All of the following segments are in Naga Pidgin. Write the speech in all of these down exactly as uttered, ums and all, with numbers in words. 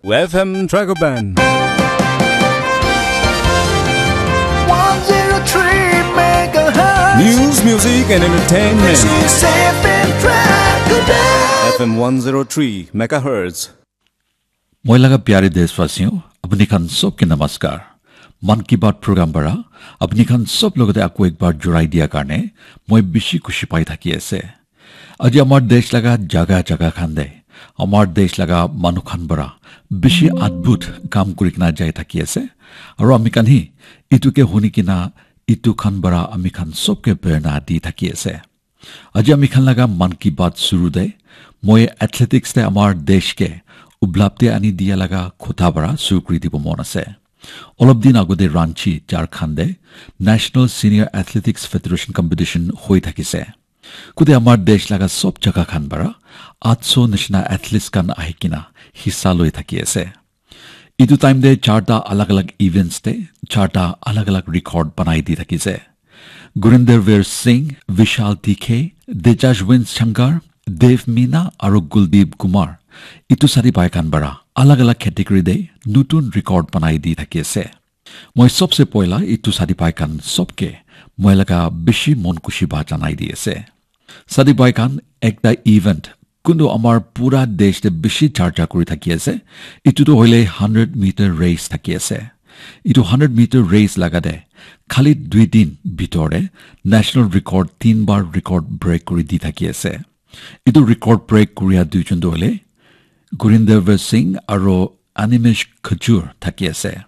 F M Dragoban. one zero three megahertz. News, music, and entertainment. This is F M Dragoban. F M one zero three megahertz. Moi laga pyare deshwasiyo, apni khan sob ke namaskar. Mann Ki Baat program para apni khan sob logote ako ekbar jurai dia karne moi bishi khushi pai thaki ase. Aji amar desh laga jaga jaga khan de, amar desh laga manu khan para bishi adbhut kam kuri kena jai thaki ase. Aru ami khan hi itu ke huni kena itu khan para ami khan sob ke prerna di thaki ase. Aji ami khan laga Mann Ki Baat shuru de, moi athletics de amar desh ke ublapti ani dia laga khota para shuru kuri dibo mon ase. Olop din agode Ranchi, Jharkhand de National Senior Athletics Federation Competition hoi thakise. Kude amar desh laga sob jaga khan para aatso nishina athletes khan ahi kena hissa loi thaki ase. Itu time de charta alag alag events de charta alag alag record banai di thakise. Gurinder Veer Singh, Vishal Tikhe, Tejashwin Shankar, Dev Meena aru Kuldeep Kumar. Itu sari pai khan para alag alag category de nutun record banai di thaki ase. Moi sobse poila itu sadi pai khan sobke moi laga bishi mon khushi ba janai di ase. Sadi pai khan ekta event kuntu amar pura desh te bishi charcha kuri thaki ase. Itu tu hoile hundred meter race thaki ase. Itu hundred meter race laga de khali dui din bitor de national record tin bar record break kuri di thaki ase. Itu record break kuria duijon tu hoile Gurinder Veer Singh aru Animesh Khajur thaki ase.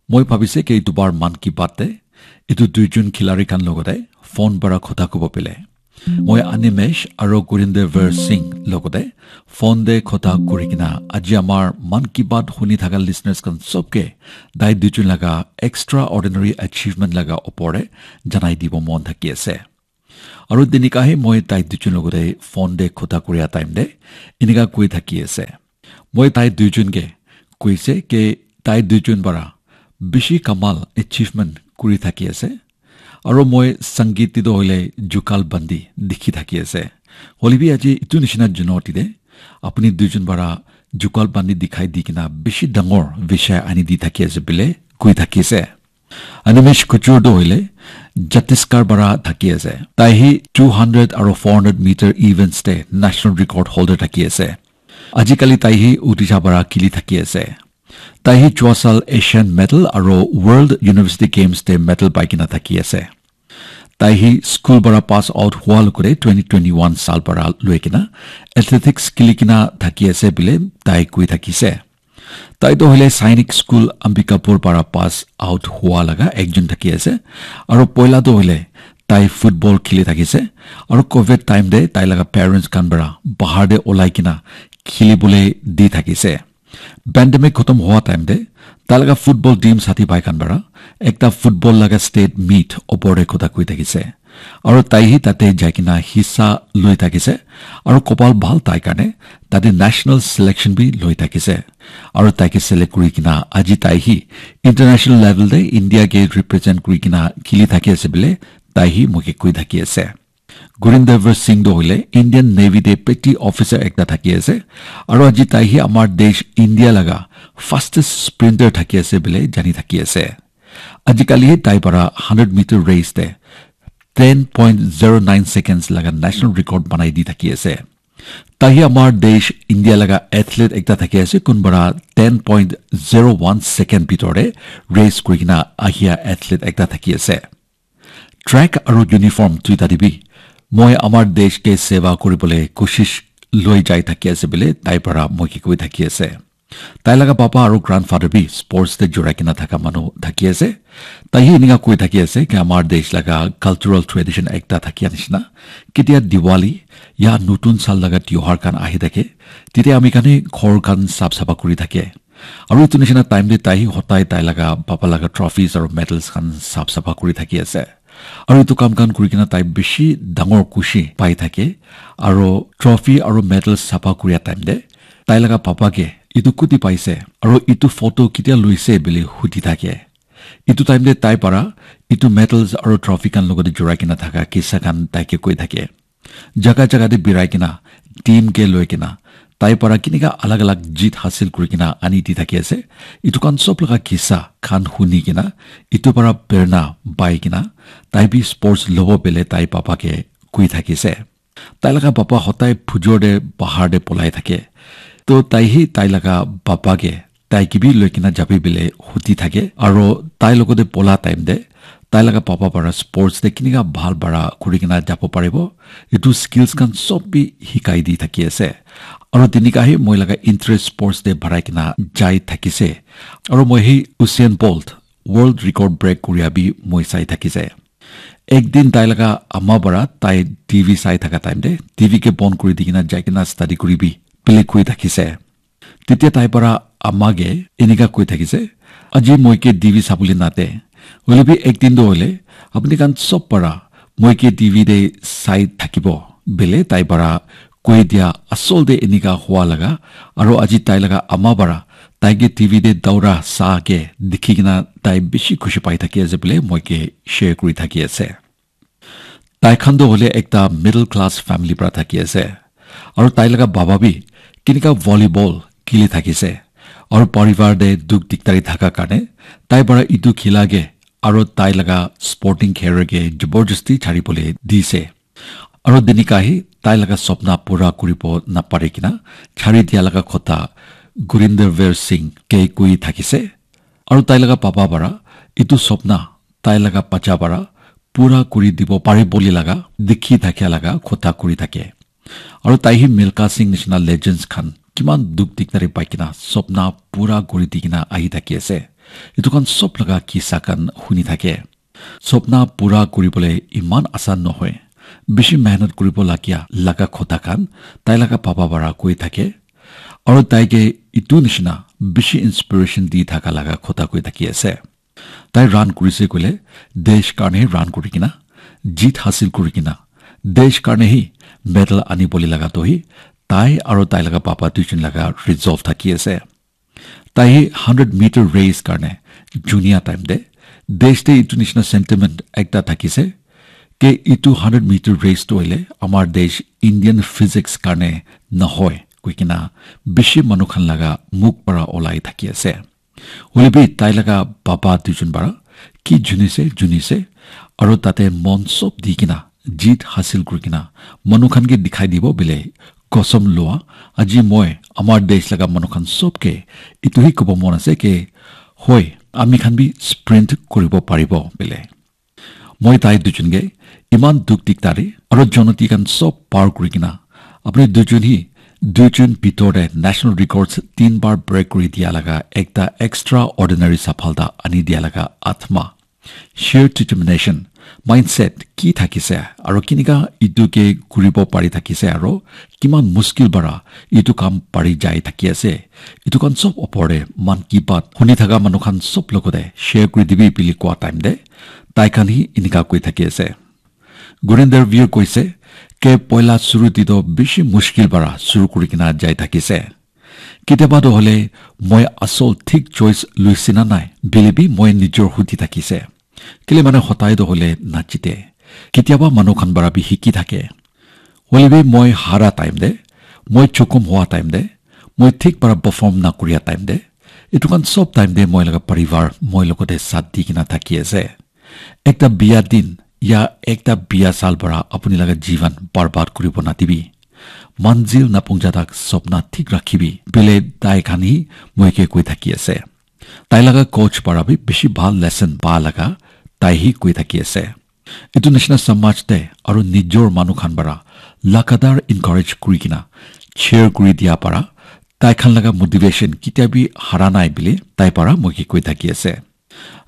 Moi bhabise ke itu bar Mann Ki Baat te itu duijon khilari khan logote phone para khota kubo pele. Moi Animesh aru Gurinder Veer Singh logote phone de khota kuri kena aji amar Mann Ki Baat huni thaka listeners khan sobke tai duijon laga extraordinary achievement laga opor de janai dibo mon thaki ase. Aru tenika he moi tai duijon logote phone de khota kuria time de enika koi thaki ase. Moi tai duijon ke koise ke tai duijon para bishi kamal achievement kuri thaki ase. Aru moi Sangeet te toh hoile jugal bandi dikhi thaki ase. Hoile bi aji itu nishina junoti de apuni duijon para jugal bandi dikhai di kena bishi dangor bishay ani di thaki ase bile koi thaki ase. Animesh Khajur toh hoile Chhattisgarh para thaki ase. Tai hi two hundred aru four hundred meter events te national record holder thaki ase. Ajikali tai hi Odisha para khili thaki ase. Tai hi jua sal Asian medal aru World University Games te medal pai kena thaki ase. Tai hi school para pass out hua logote twenty twenty-one sal para loi kena athletics khili kena thaki ase bile tai koi thakise. Tai toh hoile Sainik School Ambikapur para pass out hua laga ekjon thaki ase. Aru poila toh hoile tai football khili thakise. Aru covid time de tai laga parents khan para bahar de olai kena khili bole di thakise. Pandemic khotom hua time de tai laga football team sathi bhai khan para ekta football laga state meet opor de khota koi thakise. Aru tai hi tate jai kena hissa loi thakise. Aru kopal bhal tai karne tate national selection bi loi thakise. Aru tai ke select kuri kena aji tai hi international level de India ke represent kuri kena khili thaki ase bile tai hi moike koi thaki ase. Gurinder Veer Singh toh hoile Indian Navy te petty officer ekta thaki ase. Aru aji tai hi amar desh India laga fastest sprinter thaki ase bile jani thaki ase. Ajikali hi tai para hundred meter race te ten point zero nine seconds laga national record banai di thaki ase. Tai hi amar desh India laga athlete ekta thaki ase, kun para ten point zero one second bitor te race kuri kena ahia athlete ekta thaki ase. Track aru uniform duita te bi moi amar desh ke seva kuri bole koshish loi jai thaki ase bile tai para moi ke koi thaki ase. Tai laga papa aru grandfather bi sports te jurai kena thaka manu thaki ase. Tai hi eninka koi thaki ase ki amar desh laga cultural tradition ekta thakia nishina. Ketia Diwali ya nutun sal laga tiohar khan ahi thake, tete ami khan hi ghor khan sap sapha kuri thake. Aru etu nishina time te tai hi hotai tai laga papa laga trophies aru medals khan sap sapha kuri thaki ase. Aru etu kam khan kuri kena tai bishi dangor khushi pai thake. Aru trophy aru medals sapha kuria time te tai laga papa ke etu kuti paise aru etu photo ketia loise bili hudi thake. Etu time te tai para etu medals aru trophy khan logote jurai kena thaka kisa khan tai ke koi thake. Jaga jaga te birai kena team ke loi kena tai para kinika alag alag jit hasil kuri kena ani di thaki ase. Itu khan sob laga kisa khan huni kena, itu para prerna pai kena, tai bi sports lobo bele tai papa ke kui thaki ase. Tai laga papa hotai phujor de bahar de polai thake. To tai hi tai laga papa ke tai ke bi loi kena jabi bele huti thake. Aro tai logo de pola time de tai laga papa para sports de kinika bhal bara kuri kena jabo paribo, itu skills khan sob bi hikai di thaki ase. Aro tenika hi moi laga interest sports de barai kena jai thakise. Aro moi hi Usain Bolt world record break kuria bi moi sai thakise. Ek din tai laga ama para tai T V sai thaka time de T V ke bon kuri di kena jai kena study kuri bi bele kui thakise. Tetia tai para ama ke enika kui thakise, "Aji moi ke T V sabole nate, hoile bi ek din do hoile apni khan sob para moi ke T V de sai thakibo," bele tai para koi dia asol de enika hua laga, aro aji tai laga ama para tai ke T V de daura sa ke dikhi kena tai bishi khushi pai thaki ase bole moi ke share kuri thaki ase. Tai khan toh hoile ekta middle class family pra thaki ase. Aro tai laga baba bi kinika volleyball khili thakise. Aro parivar te dukh dikdari thaka karne tai para etu khila ke aro tai laga sporting career ke jabardasti chari bole dise. Aro tenika hi tai laga sopna pura kuribo napari kena chari dia laga kotha Gurinder Veer Singh ke koi thakise. Aro tai laga baba para etu sopna tai laga bacha para pura kuri dibo pare bole laga dikhi thakia laga kotha kuri thake. Aro tai hi Milkha Singh nishina legends khan kiman dukh dikdari pai kena sopna pura kuri di kena ahi thaki ase. Etu khan sob laga kisa khan huni thake. Sopna pura kuri bole iman asan nohoi. Bishi mehnat kuribo lagia laga kotha khan tai laga baba para koi thake. Aro tai ke etu nishina bishi inspiration di thaka laga kotha koi thaki ase. Tai run kurise koile desh karne run kuri kena jit hasil kuri kena desh karne hi medal ani bole laga toh hi tai aro tai laga papa duijon laga resolve thaki ase. Tai hi hundred meter race karne junia time te desh te etu nishina sentiment ekta thakise ke etu hundred meter race toh hoile amar desh Indian physics karne nahoi koi kena bishi manu khan laga mukh para olai thaki ase. Hoile bi tai laga baba duijon para ki junise junise aro tate mon sob di kena jit hasil kuri kena manu khan ke dikhai dibo bile kosam lua aji moi amar desh laga manu khan sob ke etu hi kobo mon ase ke hoi ami khan bi sprint kuribo paribo bile. Moi tai duijon ke iman dukh dikdari aro jonoti khan sob par kuri kena apni duijon hi duijon bitor te national records tin bar break kuri dia laga ekta extraordinary saphalta ani dia laga atma, sheer determination, mindset ki thakise aro kinika etu ke kuribo pari thakise aro kiman muskil para etu kam pari jai thaki ase. Etu khan sob opor te man ki baat huni thaka manu khan sob logote share kuri dibi bili koa time te tai khan hi enika koi thaki ase. Gurinder Veer koise ke poila suru te toh bishi mushkil para suru kuri kena jai thakise. Kitiaba toh hole moi asol thik choice luise na nai bili bi moi nijor huti thakise. Kile mane hotai toh hole nachite. Kitiaba manu khan para bi hiki thake. Hoile bi moi hara time te, moi chukum hoa time te, moi thik para perform na kuria time te, etu khan sob time te moi laga parivar moi logote saath di kena thaki ase. Ekta biya din ya ekta biya sal para apuni laga jivan barbad kuribo nadibi. Manzil napungja tak sopna thik rakhibi bile tai khan hi moi ke koi thaki ase. Tai laga coach para bi bishi bhal lesson pa laga tai hi koi thaki ase. Etu nishina samaj te aru nijor manu khan para lagatar encourage kuri kena cheer kuri dia para tai khan laga motivation kitia bi hara nai bile tai para moi ke koi thaki ase.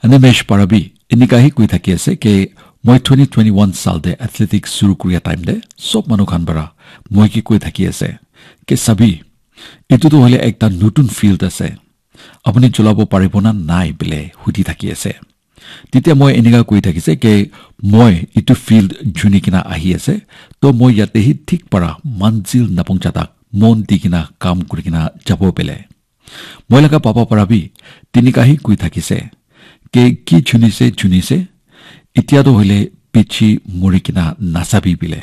Animesh para bi enika hi koi thaki ase ke moi twenty twenty-one sal te athletics suru kuria time te sob manu khan para moi ke koi thaki ase ke sabi, etu tu hoile ekta nutun field ase, apuni cholabo paribo na nai bile hudi thaki ase. Titia moi enika koi thakise ke moi etu field juni kena ahi ase, to moi yate hi thik para manzil napung jatak mon di kena kam kuri kena jabo bile. Moi laga papa para bi tinika hi koi thakise ke ki junise junise, itia to hoile pichi muri kena nasabi bile.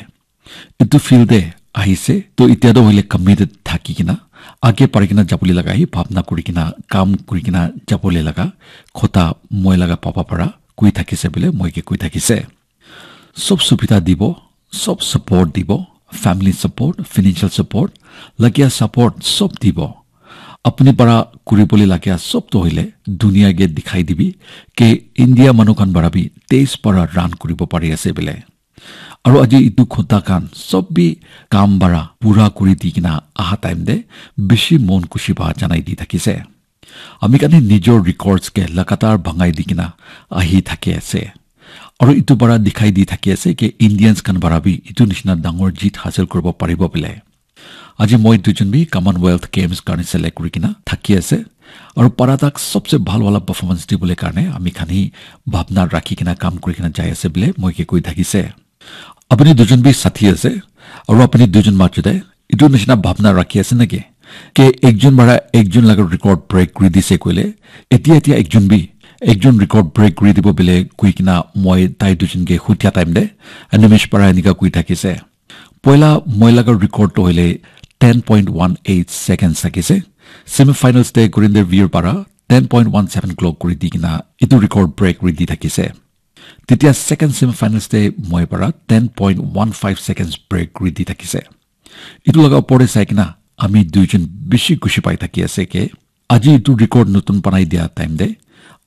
Etu field te ahise, to etia toh hoile committed thaki kena, age pari kena jabole laga hi bhabna kuri kena, kam kuri kena jabole laga kotha moi laga papa para koi thakise bole moi ke koi thakise. Sob subidha dibo, sob support dibo, family support, financial support, lagia support sob dibo. Apuni para kuribole lagia sob to hoile dunia ke dikhai dibi ke India manu khan para bi desh para run kuribo pari ase bole. Aru aji itu kotha khan sob bi kam bara pura kuri di kena aha time te bishi mon khushi ba janai di thakise. Ami khan he nijor records ke lagatar bhangai di kena ahi thaki ase. Aru itu para dikhai di thaki ase ke Indians khan para bi itu nishina dangor jeet hasil kuribo paribo bole. Aji moi duijon bi Commonwealth Games karne select kuri kena thaki ase. Aru para tak sobse bhal wala performance dibole karne ami khan hi bhabna rakhi kena kam kuri kena jai ase bole moi ke koi thakise. Apuni duijon bi sathi ase, aru apuni duijon majo te itu nishina bhabna rakhi ase naki? Ke ekjon para ekjon laga record break kuri dise koile, etia etia ekjon bi ekjon record break kuri dibo bole koi kena moi tai duijon ke hutia time te Animesh para enika koi thakise. Poila moi laga record to hoile ten point one eight seconds thakise. Semifinals te Gurinder Veer para ten point one seven clock kuri di kena itu record break kuri di thakise. Tetya second semifinals te moi para ten point one five seconds break kuri di thakise. Itu laga opor te sai kena ami duijon bishi khushi pai thaki ase ke aji itu record notun banai dia time te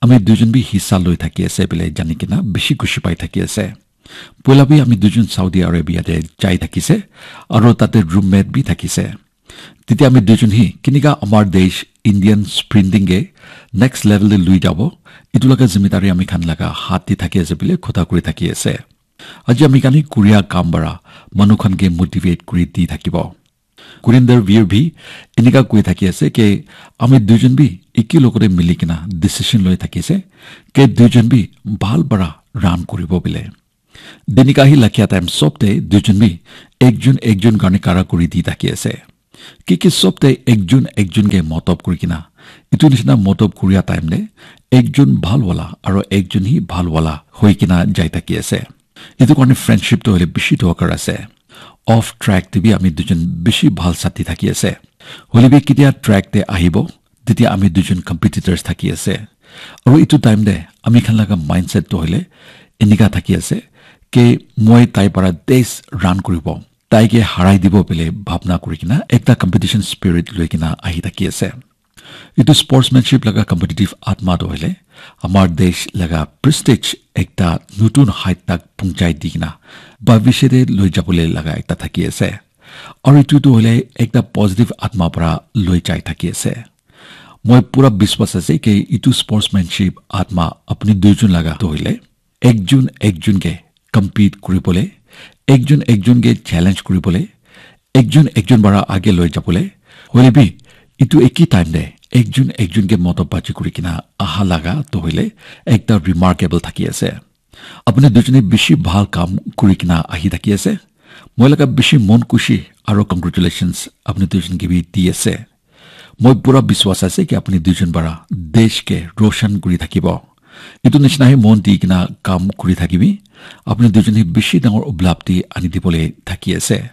ami duijon bi hissa loi thaki ase bole jani kena bishi khushi pai thaki ase. Poila bi ami duijon Saudi Arabia te jai thakise aru tate roommate bi thakise. Tetya ami duijon hi kenika amar desh Indian sprinting ke next level te lui jabo, itu laga zimmedari ami khan laga hath te thaki ase bole kotha kuri thaki ase. Aji ami khan hi kuria kam bara manu khan ke motivate kuri di thakibo. Gurinder Veer bi enika koi thaki ase ke ami duijon bi eki logote mili kena decision loi thaki ase ke duijon bi bhal para run kuribo bole. Denika hi lakhia time sob te duijon bi ekjon ekjon karne kara kuri di thaki ase. Ki ki sob te ekjon ekjon ke motob kuri kena itu nishina motob kuria time te ekjon bhal wala aru ekjon hi bhal wala hoi kena jai thaki ase. Itu karne friendship to hoile bishi dorkar ase. Off track te bi ami duijon bishi bhal sathi thaki ase. Hoile bi ketia track te ahibo, tetya ami duijon competitors thaki ase. Aru itu time te ami khan laga mindset to hoile enika thaki ase ke moi tai para desh run kuribo, tai ke harai dibo bole bhabna kuri kena ekta competition spirit loi kena ahi thaki ase. Itu sportsmanship laga competitive atma to hoile amar desh laga prestige ekta notun height tak punchai di kena bhavishya te loi jabole laga ekta thaki ase. Aru itu to hoile ekta positive atma para loi jai thaki ase. Moi pura biswas ase ke itu sportsmanship atma apuni duijon laga to hoile ekjon ekjon ke compete kuribole, ekjon ekjon ke challenge kuribole, ekjon ekjon para age loi jabole, hoile bi itu eki time te ekjon ekjon ke motob baji kuri kena aha laga to hoile ekta remarkable thaki ase. Apuni duijone bishi bhal kam kuri kena ahi thaki ase. Moi laga bishi mon khushi aru congratulations apuni duijon ke bi di ase. Moi pura biswas ase ki apuni duijon para desh ke roshan kuri thakibo. Itu nishina hi mon di kena kam kuri thakibi. Apuni duijon hi bishi dangor uplabdi ani dibole thaki ase.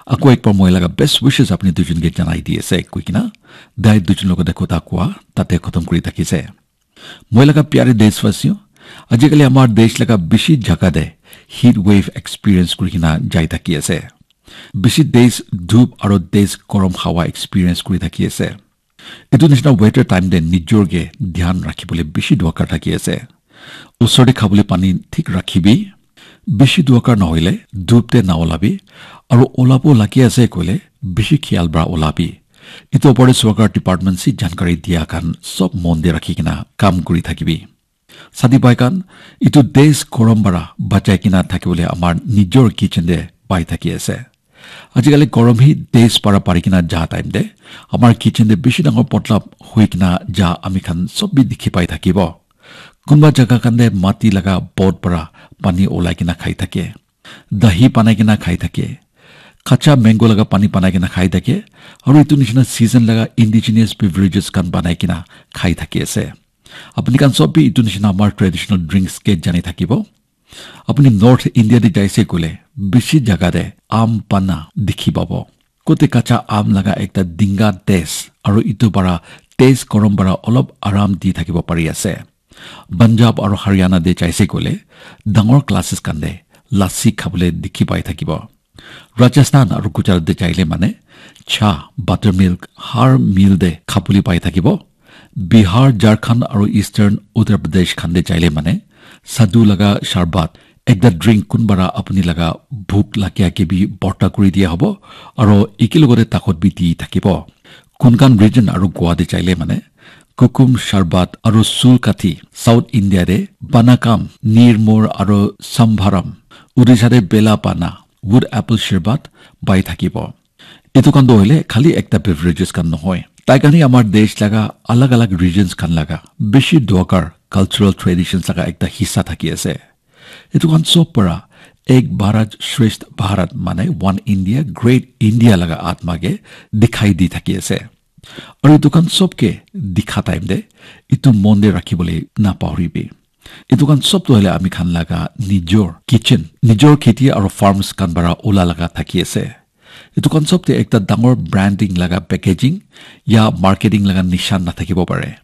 Ako ekbar moi laga best wishes apuni duijon ke janai di ase koi kena dai duijon logote kotha koa tate khotom kuri thaki ase. Moi laga pyare deshwasiyo, ajikali amar desh laga bishi jaga te heat wave experience kuri kena jai thaki ase. Bishi desh dhup aro desh gorom hawa experience kuri thaki ase. Etu nishina weather time te nijor ke dhyan rakhi bole bishi dorkar thaki ase. Usor te khabole pani thik rakhibi. Bishi dorkar nahoile dhup te na olabi. Aro olabo lagi ase koile bishi khiyal para olabi. Etu opor te sorkar department si jankari dia khan sob mon te rakhi kena kam kuri thakibi. Sadi bhai khan, etu desh gorom para bachai kena thakibole amar nijor kitchen te pai thaki ase. Ajikali gorom hi desh para pari kena ja time te amar kitchen te bishi dangor potla hoi kena ja ami khan sob bi dikhi pai thakibo. Kunba jaga khan te mati laga pot para pani olai kena khai thake. Dahi banai kena khai thake. Kacha mango laga pani banai kena khai thake. Aru etu nishina season laga indigenous beverages khan banai kena khai thaki ase. Apuni khan sob bi etu nishina amar traditional drinks ke jani thakibo. Apuni North India te jaise koile, bishi jaga te aam panna dikhi pabo. Kote kacha aam laga ekta dinga taste aru itu para taste korom para olop aram di thakibo pari ase. Punjab aru Haryana te jaise koile dangor classes khan te lassi khabole dikhi pai thakibo. Rajasthan aru Gujarat te jaile mane cha, buttermilk har meal te khabole pai thakibo. Bihar, Jharkhand aru Eastern Uttar Pradesh khan te jaile mane sadhu laga sharbat, ekta drink kunba ra apuni laga bhuk lagia ke bi borta kuri dia hobo aru eki logote takot bi di thakibo. Konkan region aru Goa te jaile mane kukum sharbat aru sul kathi, South India te banakam, nirmor aru sambharam, Odisha te bela pana, wood apple sharbat pai thakibo. Etu khan toh hoile khali ekta beverages khan nohoi. Tai khan hi amar desh laga alag alag regions khan laga bishi dorkar cultural traditions laga ekta hissa thaki ase. Etu khan sob para Ek Bharat Shreshtha Bharat mane One India Great India laga atma ke dikhai di thaki ase. Aru etu khan sob ke dikha time te etu mon te rakhi bole na pahori bi. Etu khan sob toh hoile ami khan laga nijor kitchen, nijor kheti aru farms khan para ula laga thaki ase. Etu khan sob te ekta dangor branding laga packaging ya marketing laga nishan na thakibo pare.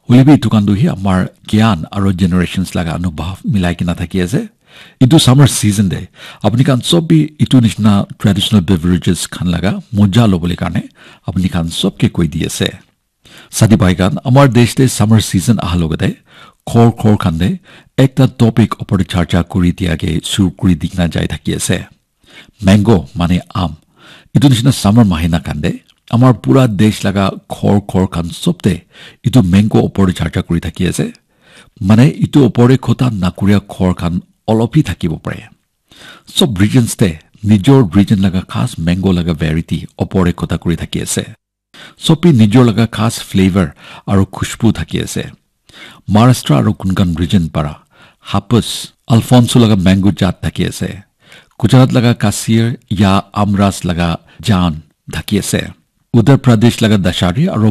Hoile bi etu khan tu hi amar gyan aru generations laga anubhav milai kena thaki ase. Etu summer season te apni khan sob bi etu nishina traditional beverages khan laga moja lobole karne apni khan sob ke koi di ase. Sadi bhai khan, amar desh te summer season aha logote khor khor khan te ekta topic opor te charcha kuri dia ke shuru kuri dikna jai thaki ase. Mango mane aam. Etu nishina summer mahina khan te amar pura desh laga khor khor khan sob te etu mango opor te charcha kuri thaki ase. Mane etu opor te khota nakuria khor khan olop hi thakibo pare. Sob regions te nijor region laga khas mango laga variety opor te khota kuri thaki ase. Sob bi nijor laga khas flavor aru khushbu thaki ase. Maharashtra aru Konkan region para Hapus, Alphonso laga mango jat thaki ase. Gujarat laga Kasir ya Amras laga jaan thaki ase. Uttar Pradesh laga Dashari aru